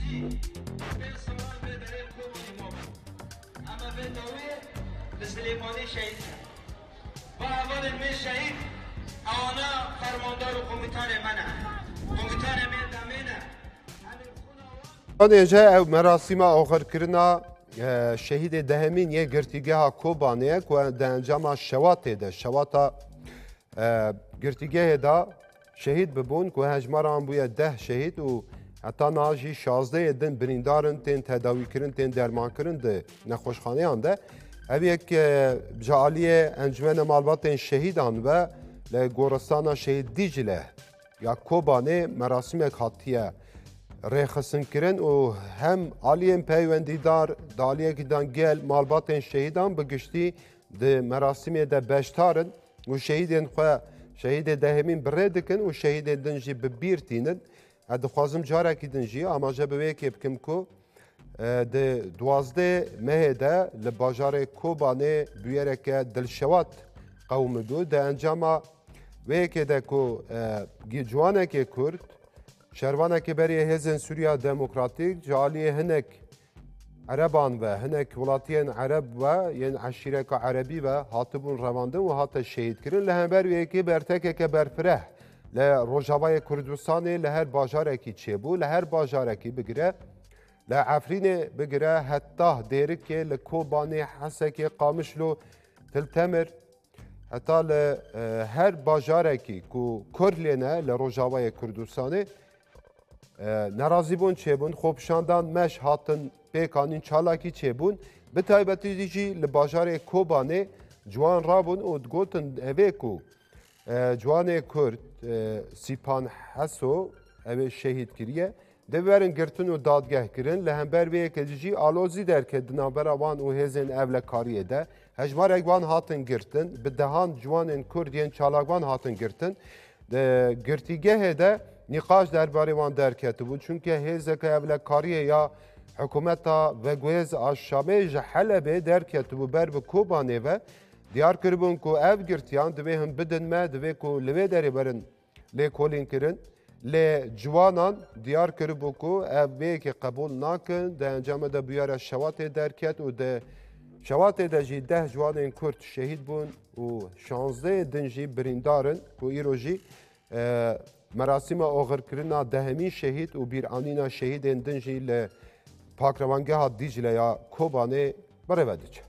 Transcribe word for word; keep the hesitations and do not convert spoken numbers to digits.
Pênc salan vê derê Kobanê mabû. Ema vê dawiyê li Silêmanî şehîd bû. Va hevalên me şehîd, ewana fermandar û komutanê me ne. Komutanê me demê ne. Em ê xwina wan Anêje ew merasîma oxirkirina, e, şehîdê dehemîn yê girtîgeha Kobanê ye ku di encama şewatê de, şewata, e, girtîgehê de şehîd bibûn ku hejmara wan bûye deh şehîd û heta niha jî şazdeh yê din birîndar in, tên tedawîkirin, tên dermankirin di nexweşxaneyan de. Ev yek, e, ji aliyê Encûmena Malbatên Şehîdan ve li goristana Şehîd Dîcle ya Kobanê merasîmek hatiye rêxistinkirin û hem aliyên peywendîdar, di aliyekî de gel malbatên şehîdan bi giştî di merasîmê de beşdar in û şehîdên xwe, şehîdê dehemîn bi rê dikin û şehîdên din jî bi bîr tînin. Ez dixwazim carekî din jî amaje bi wê yekê bikim ku, e, di duwazdeh mehê de li bajarê Kobanê bûyereke dilşewat qewimibû. Di encama wê yekê de ku, e, gi-, ciwanekê Kurd, şervanekê berê Hêzên Sûriya Demokratîk, ji aliyê hinek Ereban ve, hinek welatiyên Ereb ve, yên eşîreka Erebî ve hatibûn revandin û hate şehîdkirin. Li hember wê yekê bertekeke berfireh li Rojavayê Kurdistanê li her bajarekî çêbû, li her bajarekî bigire, li Efrînê bigire heta Dêrikê, li Kobanê, Hesekê, Qamişlo, Til Temir, heta li, e, her bajarekî ku Kurd lê ne li Rojavayê Kurdistanê, e, nerazîbûn çêbûn, xwepişandan, meş hatin pêkanîn, çalakî çêbûn. Bi taybetî jî li bajarê Kobanê ciwan rabûn û digotin, evê ku, e, ciwanê Kurd, e, Sîpan Heso, ew ê şehîd kiriye, dê werin girtin û dadgeh kirin. Li hember vê yekê jî alozî derket di navbera wan û hêzên ewlekariyê de. Hejmarek wan hatin girtin, bi dehan ciwanên Kurd yên çalakvan hatin girtin. Di girtîgehê de nîqaş derbarê wan derketibû. Çunke hêzeke ewlekariyê ya hikûmeta veguhêz a Şamê ji Helebê derketibû ber bi Kobanê ve. Diyar kiribûn ku ev girtiyan divê him bidin me, divê ku li vê derê werin lêkolîn kirin. Lê ciwanan diyar kiribû ku ev vê yekê qebûl nakin. Di encamê de bûyera şewatê derket û di şewatê de jî deh ciwanên Kurd şehîd bûn û şazdeh din jî birîndar in ku îro jî, e, merasîma oxirkirina dehemîn şehîd û bîranîna şehîdên din jî li Pakrewangeha Dîcle ya Kobanê bi rê ve diçe.